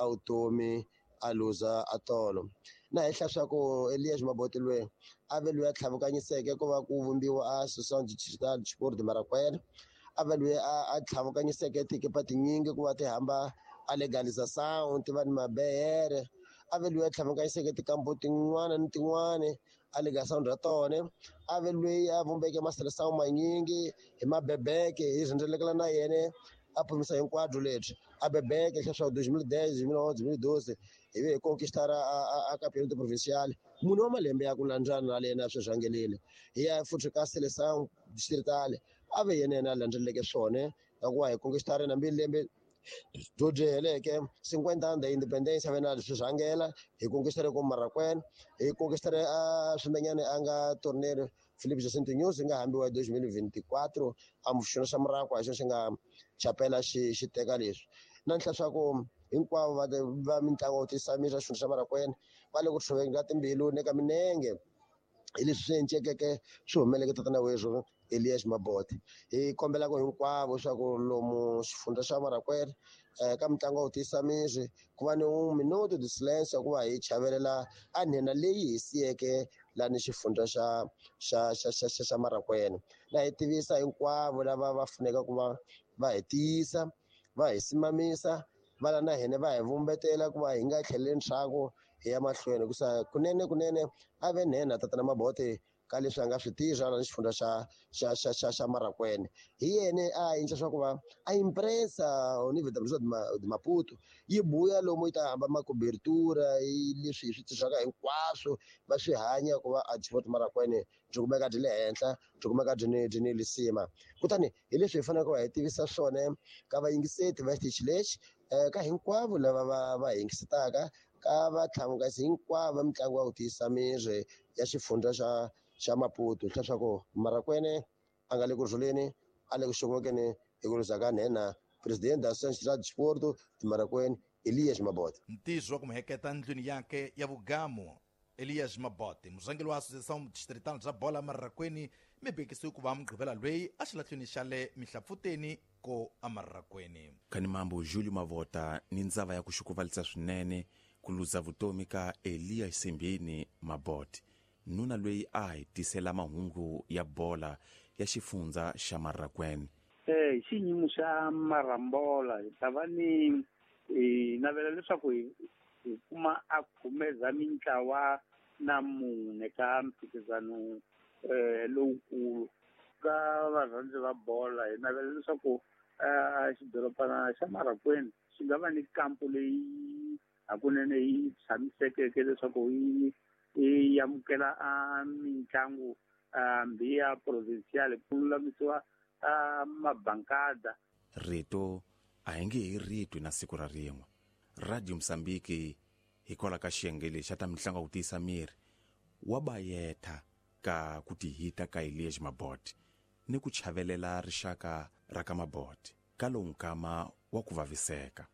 a vutomi a luza a tolo. Na henhla swa ku Elias Mabote loyi a ve loyi a tlhavukanyiseke ku va ku vumbiwa a Associação Distrital de Sport de Marracuene, a ve loyi a tlhavukanyiseke tikipa tinyingi ku va ti hamba a legalização ti va ni mabehere, a ve loyi a tlhavukanyiseke tikampo tin'wana ni tin'wana a legalização ra tona, a ve loyi a vumbeke maseleção manyingi hi mabebeke hi rhendzelekela na yena a phumisa hinkwabyo lebyi a bebeke leswaku 2010 2011 2012 hi ve hi conquistar a campeonato provincial. Munhu wa malembe ya ku landzana na yena swi rhangelile hi ya futhi ka seleção distrital a ve yena yena a landzeleleke swona ya ku va hi conquistar na mbili lembe byo heleke 50 ans de independência a ve na swi rhangela hi conquistar ko Marracuene, hi conquistar a swimenyane a nga torneio Filipe Jacinto News nga hambiwa hi 2024 a muxona xa Muraku a xo xi nga chapela xi teka leswi. Na ntlha swa ku hinkwavo va mitlangu yo tisa miri xa xifundza xa Marracuene va le ku tshoveni ka timbilu ne ka minenge hi leswi swi encekeke swi humeleke tatana werhu Elias Mabote. Hi kombela ku hinkwavo swa ku lomu xifundza xa Marracuene ka mitlangu yo tisa miri ku va ni un minuto de silence ku va hi chavelela a nhenha leyi hi siyeke lani xifundza xa Marracuene. Na hi tivisa hinkwavo lava va funeka ku va va hi tiyisa, va hi simamisa, va la na hina va hi vumbetela ku va hi nga tlheleli ndzhaku hi ya mahlweni. Hikusa kunene kunene a ve nhenha tatana Mabote ka leswi a nga swi tirha lani xifundza xa Marracuene. Hi yena a endla swa ku va a impresa Universidade de Maputo yi buya lomu yi ta hamba macobertura hi leswi hi swi tirhaka hinkwaswo va swi hanya ku va a Sport Marracuene byi kumeka byi le henhla, byi kumeka byi ni lisima. Kutani hi leswi hi faneleke ku va hi tivisa swona ka vayingiseti va xitichi lexi, ka hinkwavo lava va yingisetaka, ka vatlhamukasi hinkwavo va mitlangu ya ku tiyisa miri ya xifundza xa Maputo, leswaku Marracuene a nga le ku rhuleni, a le ku xongokeni hi ku luza ka nhenha president da Associação de Desporto de Marracuene Elias Mabote. Ntizo wa ku muheketa ndlwini yakhe ya vugamu Elias Mabote, murhangeri wa Associação Distrital bya Bola Marracuene, mi bekisiwe ku va mugqivela loyi a xilahlweni xa le Mihlapfuteni ko aMarracuene. Kani mambo Julio Mavota ni ndzava ya ku xukuvalisa swinene ku luza vutomi ka Elias Simbini Mabote, nuna loyi a hi tisela mahungu ya bola ya xifundza xa Marracuene. Hi xiyimo xa Marambola hi ta va ni hi navela leswaku hi kuma a khumeza mintlawa na mune ka mphikizano lowukulu ka varhandzi va bola. Hi navela leswaku xidorobana xa Marracuene xi nga va ni kampo leyi hakunene yi tshamisekeke leswaku yi amukela a mitlangu hambi ya provincial ku lulamisiwa mabankada. Rito a hi nge hi ritwi na siku ra rin'we. Radio Mozambique hikwalaho ka xiyenge lexi xa ta mitlangu ya ku tiyisa miri wa bayetha ka ku tihita ka Elias Mabote ni ku chavelela rixaka ra ka Mabote ka lowu nkama wa ku vaviseka.